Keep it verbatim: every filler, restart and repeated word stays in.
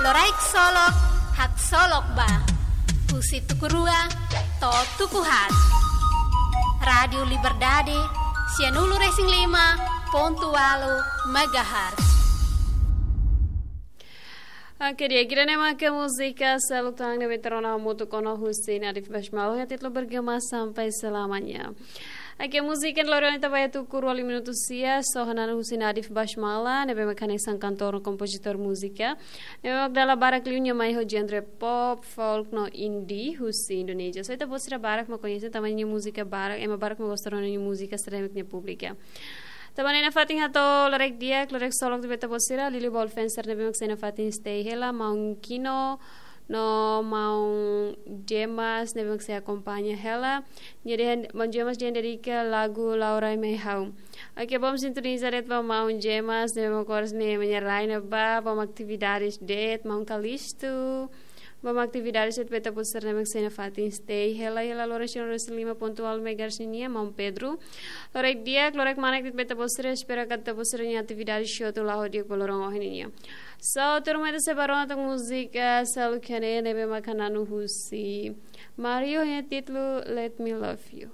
Loraik Solok, Haksolok Ba. Husi tuku rua to'o tuku haat. Rádiu Liberdade, sianulu-resin-lima pontu ualu megahertz. Oke, di'ak, ida-ne'e mak múzika seluk tan ne'ebé ita rona hamutuk ona husi Nadif Basmala, iha títulu Bergema Sampai Selamanya. Oke, múzika ne'e lori ona ita ba iha tuku rua liu minutu sia, só hananu husi Nadif Basmala, ne'ebé mak hanesan kantór no kompozitór múzika. Ne'ebé mak dala barak liu nia mai ho genre pop, folk no indie husi Indonézia. Só ita-boot sira barak mak koñese tanba nia múzika barak, ema barak mak gosta rona nia múzika sira-ne'e mak nia públiku. Tanba ne'e nafatin hato'o loraik di'ak, loraik solok ba ita-boot sira, liuliu ba ha'u-nia fans sira ne'ebé mak sei nafatin stay hela, maun Kino, no maun Jemas, ne'ebé mak sei akompaña hela. Nia dehan, maun Jemas dehan dedika lagu Laura mai ha'u. Oke, bom sintoniza de'it ba maun Jemas, ne'ebé mak oras ne'e ema nia rai ne'ebá, bom atividades de'it, maun Kalistu. Bom atividades de'it ba ita-boot sira ne'ebé mak sei nafatin stay hela, hela loron sianulu-resin-lima pontu ualu megahertz nian, maun Pedro. Loraik di'ak, loraik manek de'it ba ita-boot sira, espera katak ita-boot sira-nia atividade show tu la'o di'ak ba loron ohin nian. So, turma, ita sei ba rona tan múzika seluk iha ne'e, ne'ebé mak hananu husi Mario, iha títulu Let Me Love You.